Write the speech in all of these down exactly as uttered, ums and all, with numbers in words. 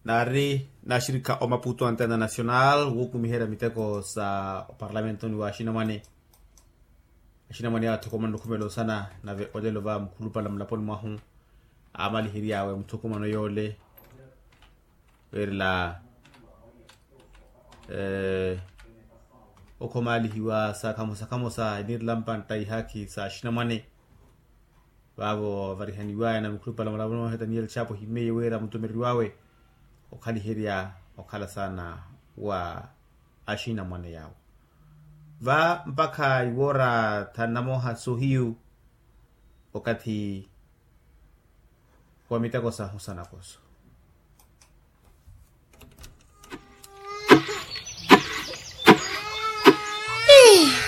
naari naxirikha omaputo a international wukumiherya miteko sa oparamentoni wa axinamwane. Axinamwane awo athokomana okhumela osana nave olelo va mukhulupala mulaponi mwahu aamalihery'awe muthokomano yoole. Weerela okhomaalihiwa sa khamosa khamosa eniirela mpantta ihaakhi sa axinamwane. Vaavo varihaniwaya na mukhulupala mulaponi mwahu etaniyeli chapo himmeiye wira mutumereriwawe okhaliherya okhala saana wa axinamwane yaawo. Va mpakha iwoora thanu na mooha sohiyu okathi wa miteko sahu sanakoso.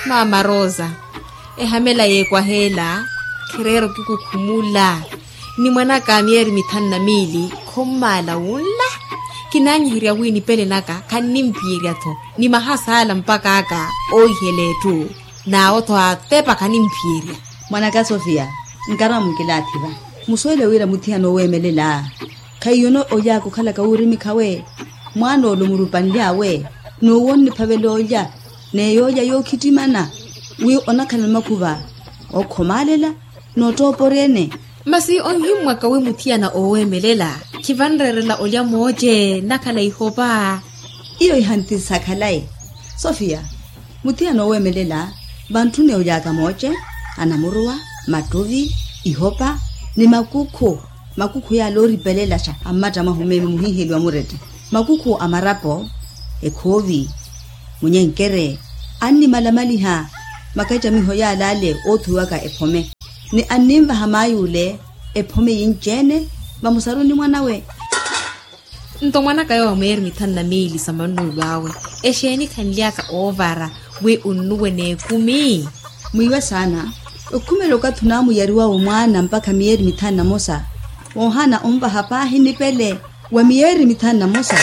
Maama rosa, ehamela yeekwaheela khireera okikukhumula. Ni mwanaka a miyeeri mithanu na miili khommaala wunla. Kinaanyiherya wi nipele naka khannimpiyerya-tho ni mahasaala mpaka aka oohihela etthu. N'awo-tho atepa khanimphiyerya. Mwanaka sofia, nkaramu nkilaathiva. Musuwele wira muthiyana oweemelela khaiyono oly'aka okhalaka wuurimikhawe. Mwaana ole omurupanly'awe n'uwo onniphavela olya n'eyoolya yookhittimana wi onakhala ni makhuva ookhomaalela. Noottooporya-ene. Masi onhimmwaka wi muthiyana ooweemelela khivanreerela olya mooce nakhala ihopa. Iyo ihanthisa khalayi. Sofia, muthiyana ooweemelela vantthuni oly'aka mooce, anamuruwa, mattuvi, ihopa ni makukhu. Makukhu yaala ooripelelaxa ammatta mwahu meeme muhiiheliwa murette. Makukhu a marapo, ekhoovi, munyenkere, annimalamaliha makacamiho yaala ale oothuwiwaka ephome. Ni anninvaha maay'ule ephome yinci-ene vamusaruni mwanawe. Nto mwanaka yowo a miyeeri mithanu na miili sa mannuwelo awe, exeeni khanly'aka oovara wi onnuwe n'ekumi? Mwiiwe saana. Okhumela okathi onaamuyariwawe mwaana mpakha miyeeri mithanu na mosa, moohaana onvaha paahi nipele wa miyeeri mithanu na mosa.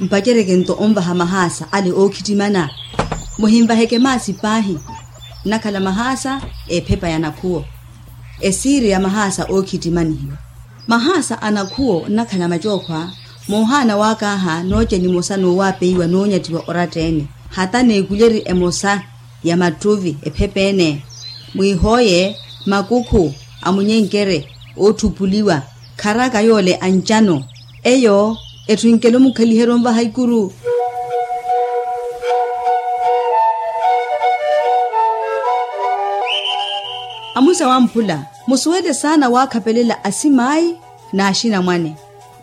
Mpacereke nto onvaha mahaasa ale ookhittimana. Muhinvaheke maasi paahi. Nnakhala mahaasa ephepa ya nakhuwo. Esiiri ya mahaasa ookhittimanihiwa. Mahaasa a nakhuwo nnakhala macookhwa. Moohaana waakaaha nooce nimosa n'uwaapeiwa noonyattiwa oratta-ene. Hata n'ekulyeri emosa ya mattuvi ephepa-ene. Mwiihooye makukhu a munyenkere ootthupuliwa. Kharaka yoole ancano. Eyo etthu enkela omukhaliherya onvaha ikuru. Amusa wamphula, musuwele saana waakhapelela asimaayi n'axinamwane.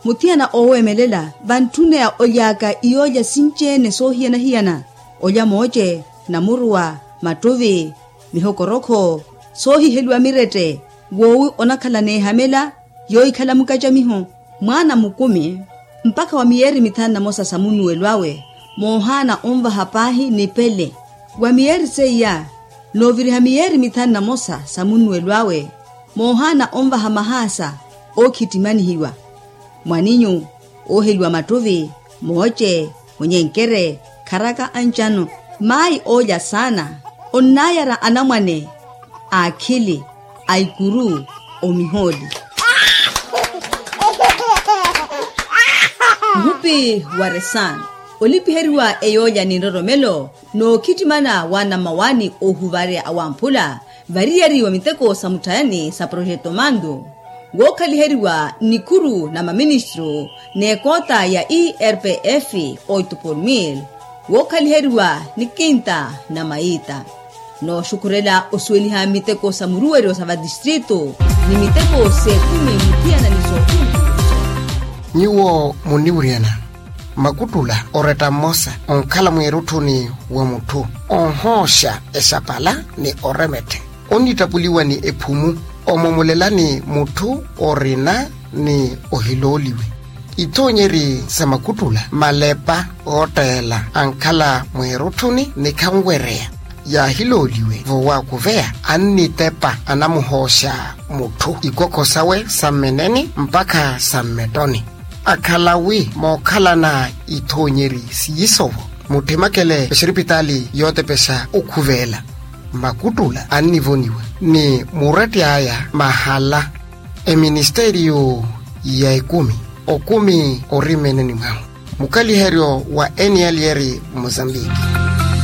Muthiyana ooweemelela vantthuna ya oly'aka iyoolya sinci-ene soohiyana-hiyana. Olya mooce, namuruwa, mattuvi, mihokorokho, soohiheliwa mirette. Woowi onakhala n'ehamela yoohikhala mukacamiho. Mwaana mukumi mpakha wa miyeeri mithanu na mosa sa munnuwelo awe, moohaana onvaha paahi nipele. Wa miyeeri seiya nooviriha miyeeri mithanu na mosa sa munnuwelo awe, moohaana onvaha mahaasa ookhittimanihiwa. Mwaninyu ooheliwa mattuvi, mooce, munyenkere, kharaka ancano. Maayi oolya saana onnaayara anamwane a akhili, a ikuru, omihooli. Muhupi wa resano olipiheriwa eyoolya ni nroromelo n'okhittimana wa anamawani oohuvarya awamphula variyari wa miteko sa mutthayani sa projeto mando, wookhaliheriwa nnikhuru na maministru n'ekoota ya erpf oito por mil, wookhaliheriwa ni kinta na maita. Nooxukhurela osuweliha miteko sa muruweryo sa vatistritu ni miteko s'ekumi muthiyana ni sookhumi. Nyuwo munniwuryana makuttula oretta mmosa onkhala mweerutthuni wa mutthu onhooxa exapala ni oremetthe, onnittapuliwa ni ephumu, omomolelani mutthu orina ni ohilooliwe. Ithoonyeri sa makuttula malepa ootteela ankhala mweerutthuni ni khanwereya yaahilooliwe vowaakuveya, annitepa anamuhooxa mutthu ikwokho sawe sa mmeneni mpakha sa mmettoni. Akhala wi mookhalana ithoonyeri siiso-vo, mutthimakele exiripitaali yootepexa okhuveela. Makuttula annivoniwa ni muretti aya mahala. Eministeriyo ya ekumi Okumi orimene ni mwahu mukaliheryo wa eniyalyeri mozambiki.